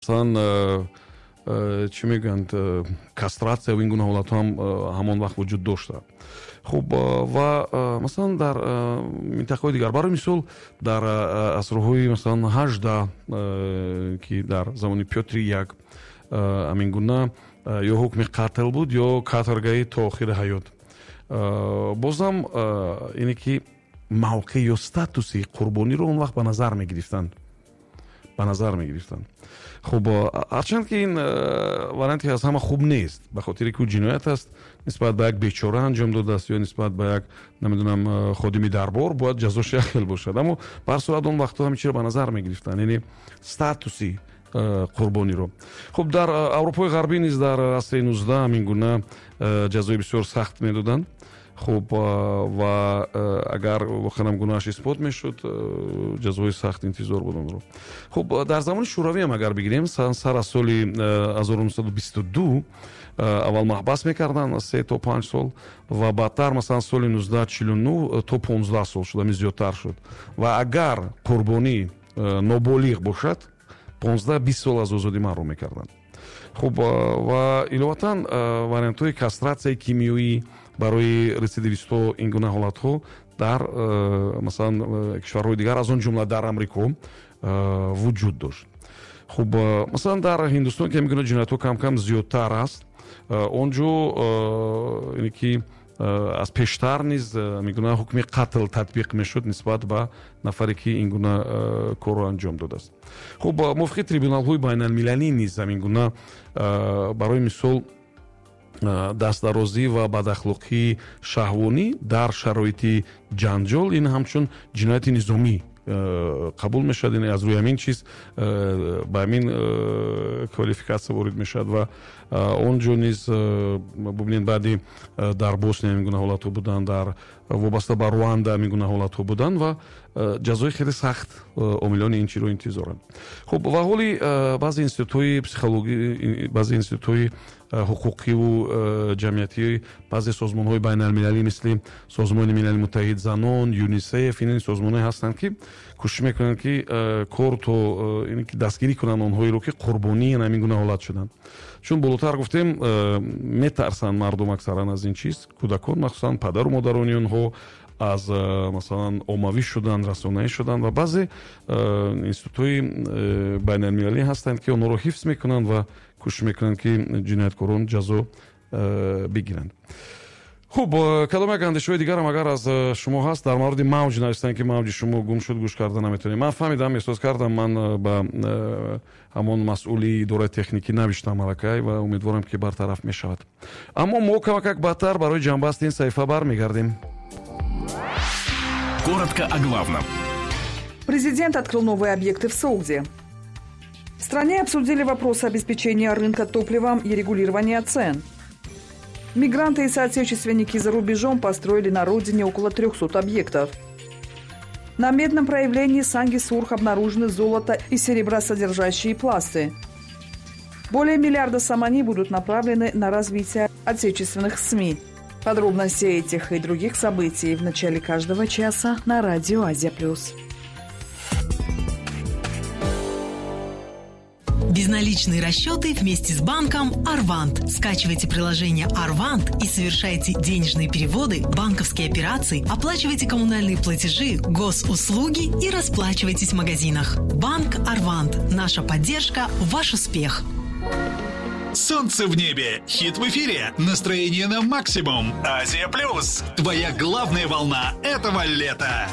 Масалан, чӣ мегӯянд, кастрация ва ин гуна ҳолатҳо ҳам ҳамон вақт вуҷуд дошта. Хуб, ва масалан, дар минтақаҳои дигар, барои мисол, дар асрҳои, масалан, 18, ки дар замони Пётри Як, ҳамин гуна ё ҳукми қатл буд, ё каторгаи то охири ҳаёт. Бозам ине ки мавқеъ ё статуси қурбониро он вақт ба назар мегирифтанд, ба назар мегирифтанд. Хуб, ҳарчанд ки ин варианте аз ҳама хуб нест, ба хотире ки ӯ ҷиноят аст, нисбат ба як бечора анҷом додааст ё нисбат ба як, намедонам, ходими дарбор, бояд ҷазош як хел бошад. Аммо ба ҳар сурат, он вақтҳо ҳамин чиро ба назар мегирифтанд, яъне статуси қурбониро. Хуб, дар Аврупои Ғарбӣ низ дар асри 19 ҳамин гуна ҷазои бисёр сахт медоданд. Хуб, ва агар воқеан гуноҳаш исбот мешуд, ҷазои сахт интизор буд онро. Хуб, дар замони Шӯравӣ ҳам агар бигирем, сар аз соли 1922 аввал маҳбас мекарданд аз 3 то 5 сол ва баъдтар, масалан, соли 1949 то 15 сол шуд, ҳамин зиёдтар шуд. Ва агар қурбонӣ ноболиғ бошад, 15-20 сол аз озодӣ маҳрум мекарданд. Хуб, ва иловатан вариантҳои кастрацияи кимиёӣ барои рецидивистҳо, ин гуна ҳолатҳо дар, масалан, кишварҳои дигар, аз он ҷумла дар Амрико, вуҷуд дошт. Хуб, масалан, дар Ҳиндустон, ки ҳамин гуна ҷиноятҳо кам-кам зиёдтар аст, он ҷо ине ки аз пештар низ ҳамин гуна ҳукми қатл татбиқ мешуд нисбат ба нафаре, ки ин гуна корро анҷом додааст. Хуб, мувофиқи трибуналҳои байналмилалӣ низ ҳамин гуна, барои мисол, дастдарозӣ ва бадахлоқии шаҳвонӣ дар шароити ҷанҷол, ин ҳамчун ҷинояти низомӣ қабул мешавад, яъне аз рӯи ҳамин чиз ба ҳамин квалификатсия ворид мешавад. Ва он ҷо низ бубинед, баъди дар Босния ҳамин гуна ҳолатҳо буданд, дар вобаста ба Руанда ҳамин гуна ҳолатҳо буданд ва ҷазои хеле сахт омилони ин чиро интизоранд. Хуб, ва ҳоли баъзе институтҳои психологӣ, баъзе институтҳои ҳуқуқиву ҷамъиятӣ, баъзе созмонҳои байналмилалӣ, мисли Созмони Милали Муттаҳид занон, ЮНИСЕФ, ин созмонҳое ҳастанд, ки кӯшиш мекунанд, ки кор то ки дастгирӣ кунанд онҳоеро, ки қурбонии ҳамин гуна ҳолат шуданд. Чун болотар гуфтем, метарсанд мардум аксаран аз ин чиз, кӯдакон махсусан, падару модарони онҳо аз, масалан, оммавӣ шудан, расонаӣ шудан. Ва баъзе институтҳои байналмилалӣ ҳастанд, ки онҳоро ҳифз мекунанд ва кӯшиш мекунанд, ки ҷинояткорон ҷазо бигиранд. Хуб, кадом як андешаҳои дигарам агар аз шумо ҳаст дар мавриди мавҷ, навистанд, ки мавҷи шумо гум шуд, гӯш карда наметавонем. Ман фаҳмидам, эҳсос кардам, ман ба ҳамон масъули идораи техникӣ навиштам аллакай ва умедворам, ки бартараф мешавад. Аммо мо камакак баъдтар барои ҷамъбасти ин саҳифа бармегардем. Коротко о главном. Президент открыл новые объекты в Согде. В стране обсудили вопросы обеспечения рынка топливом и регулирования цен. Мигранты и соотечественники за рубежом построили на родине около 300 объектов. На медном проявлении Санги-Сурх обнаружены золото и серебросодержащие пласты. Более миллиарда сомони будут направлены на развитие отечественных СМИ. Подробности этих и других событий в начале каждого часа на радио «Азия плюс». Безналичные расчеты вместе с банком «Арвант». Скачивайте приложение «Арвант» и совершайте денежные переводы, банковские операции, оплачивайте коммунальные платежи, госуслуги и расплачивайтесь в магазинах. Банк «Арвант». Наша поддержка – ваш успех. Солнце в небе, хит в эфире, настроение на максимум. Азия Плюс. Твоя главная волна этого лета.